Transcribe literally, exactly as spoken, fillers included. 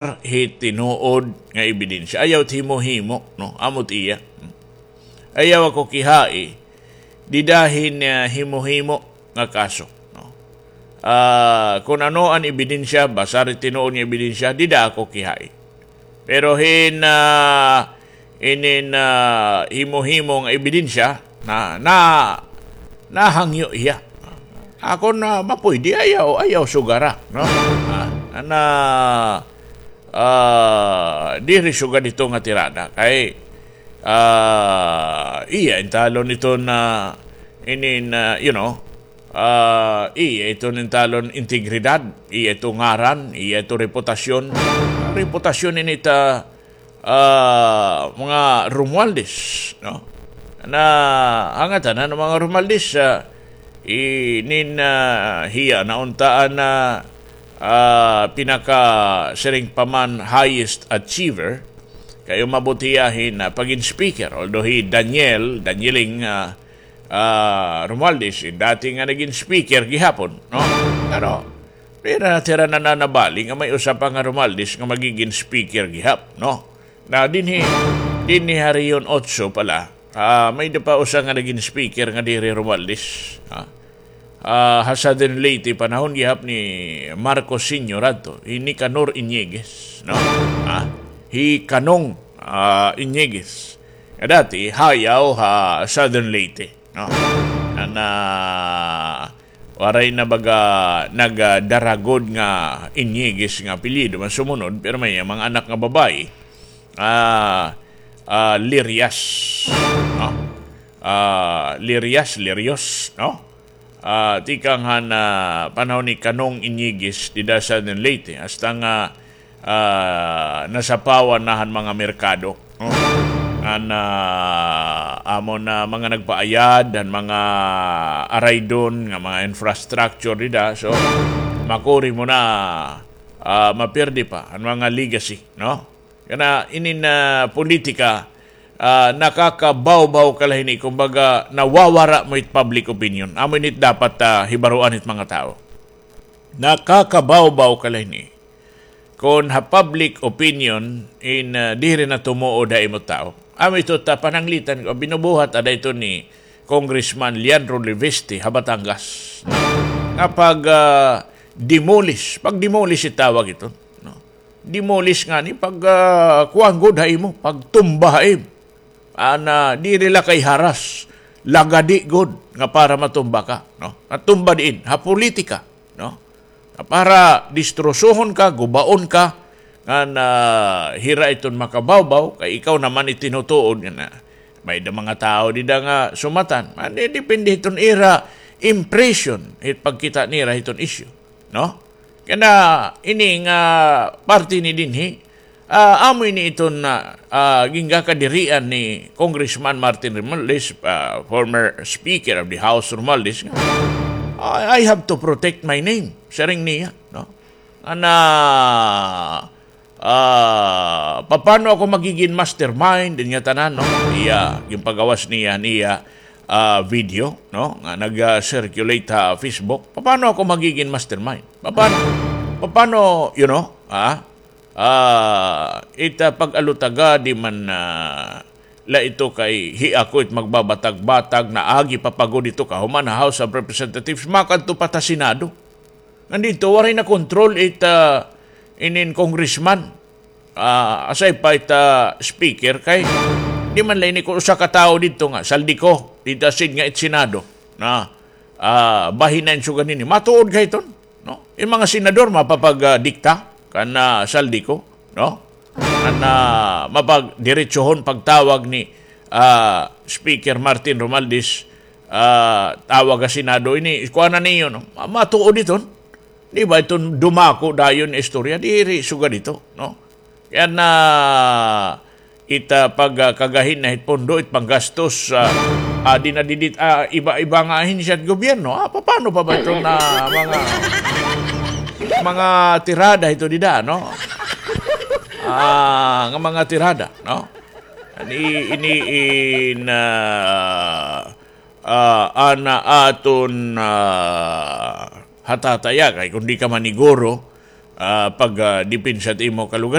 hi tinuod nga ebidensya. Ayaw it himo-himo, no? Amo it iya. Ayaw ako kihai dida hin, ah, himo-himo nga kaso, no? Ah, kon ano an ebidensya, basar it tinuod nga ebidensya, dida ako kihai. Pero hin, ah, inin, ah, himo-himo nga ebidensya, na, na, nahangyo hiya. Ako na mapuydi, ayaw, ayaw sugara, no? Ah, na, ah, diri sugad ito nga tirada. Kay, ah, iya, intalon ito na, inin, ah, you know, ah, iya ito nintalon integridad, iya ito ngaran, iya ito reputasyon. Reputasyon ini ta, ah, mga Romualdez, no? Na, hangatan na mga Romualdez, ah, inin, ah, hiya na unta an, ah, ah, pinaka siring pa man highest achiever, kay umabot hiya hin, ah, pagin speaker, although hi Daniel, Danieling, ah, ah, Romualdez, eh, dati nga nagin speaker gihapon, no? Pero, pero natira na nanabali nga may usa pa nga Romualdez nga magigin speaker gihap, no? Na dinhi, dinhi ha Rehiyon Otso pala, ah, may da pa usa nga nagin speaker nga diri Romualdez, ha? Ah, ha Southern Leyte, panahon gihap ni Marcos Senior adto, hi Nicanor Iñiguez, no? Ha? Hi Kanong, ah, Iñiguez. Nga dati, hayaw ha Southern Leyte. No? An, ah, waray na baga nagdaragod nga Iñiguez nga apelyido man sumunod, pero may mga anak nga babayi, ah, ah, Lirias, no? Ah, Lirias, Lirios, no? Ah, tikang han, ah, panahon ni Kanong Iñiguez dida sa Leyte, hasta nga ah, nasapawan na han mga merkado, no? An, ah, amo na mga nagpaayad han mga araydon nga mga infrastructure dida. So, makuri mo na, ah, mapirdi pa an mga legacy, no? Kana inin, ah, politika, ah, nakakabawbaw ka la hini, kumbaga, nawawara mo it public opinion. Amo ini it dapat, ah, hibaroan hit mga tawo. Nakakabawbaw ka la hini. Kon ha public opinion in, ah, diri na tumuod ha imo tawo. Amo ito ta pananglitan ko, binubuhat ada ito ni Congressman Leandro Leviste ha Batangas. Nga pag, ah, demolish, pag demolish itawag ito, no? Demolish ngani pag, ah, kuan gud ha imo, pagtumba ha imo. An, ah, diri la kay haras, lagadi gud nga para matumba ka, no? Matumba diin, ha politika, no? Nga para distrosohon ka, gubaon ka, ngan, ah, hira iton makabawbaw, kay ikaw naman itinutuod nga na. May da mga tawo dida nga sumatan. An, eh, depende hiton ira impression, hit pagkita nira hiton issue, no? Kana ini nga parte ni dinhi, ah, amo ini iton, ah, ah, gingakadirian ni Congressman Martin Romualdez, ah, former Speaker of the House Romualdez, nga, "I, I have to protect my name," siring niya, no? Ana, ah, papano ako magigin mastermind, din nga tanan, no? Iya, ginpagawas niya, niya, ah, video, no? Nga nag-circulate ha Facebook. Papano ako magigin mastermind? Papano, papano, you know, ah, ah, ita pag-alutaga, di man, ah, la ito kay hi ako it magbabatag-batag, naagi pa pa gud ito kahuman ha House of Representatives, makadto pa ta Senado. Ngan didto, waray na control it, ah, inin congressman. Ah, aside pa it, ah, speaker, kay di man la ini kon usa ka tawo didto nga, Zaldy Co, didto aside nga it Senado. Na, ah, bahin na in sugad nini. Matuod ka hiton, no? In mga senador, mapapag, ah, dikta kan, ah, Zaldy Co, no? An, ah, mapagdiretsohon pagtawag ni, ah, Speaker Martin Romualdez, ah, tawag ha Senado ini, kuan na niyo, no? Ma-, matuod iton. Di ba iton dumako dayon istorya? Diri sugad ito, no? Kay an, ah, ita pag, ah, kagahin na hit pondo, it panggastos, ah, adi na didit, ah, iba-iba nga ahensya hit gobyerno. Ah, papano pa ba iton, ah, mga, mga tirada ito dida, no? Ah, nga mga tirada, no? Ini, ini in, ah, ah, ana aton, ah, hatataya kay kon di ka maniguro, ah, pag, ah, depensa hit imo kalugaringon.